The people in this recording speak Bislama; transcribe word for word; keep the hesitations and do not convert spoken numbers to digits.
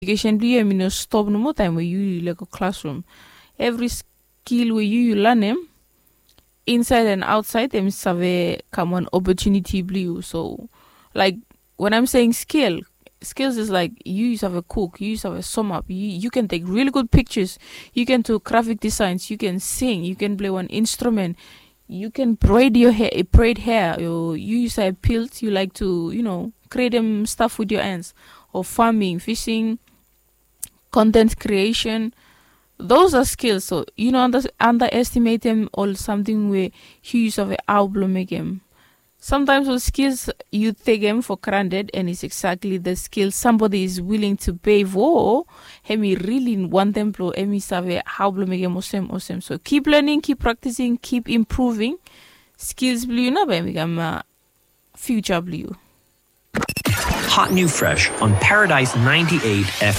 Edukesen blong yu em i no stop nomo taem we yu yu lego klasrum. Evri skil we yu yu lanem insaed and aotsaed em i save kam wan opotuniti blong yu. So laik, wen aem seing skil, skils is laik yu yu save kuk, yu yu save somap, yu ken tek rili gud piktas, yu ken tu grafik disaens, yu ken sing, yu ken plei wan instrumen, yu ken bred yo hea, bred hea, o yu yu save bild, yu laek tu yu no, krietem staf wit yo ens, o faming, fising, kontent kriesen. Those ar skils. So yu no anda estimetem ol samting we yu yu save hao blong mekem. Samtaems ol skils yu tekem fo granted and is eksakli the skil sambodi is wiling tu pei fo, hem i rili wantem blong hem i save hao blong mekem olsem olsem. So kip lening, kip praktising, kip impruving. Skils blong yu nao bae hem i kam fiuja blong yu. Hot new fresh on Paradise ninety-eight F M.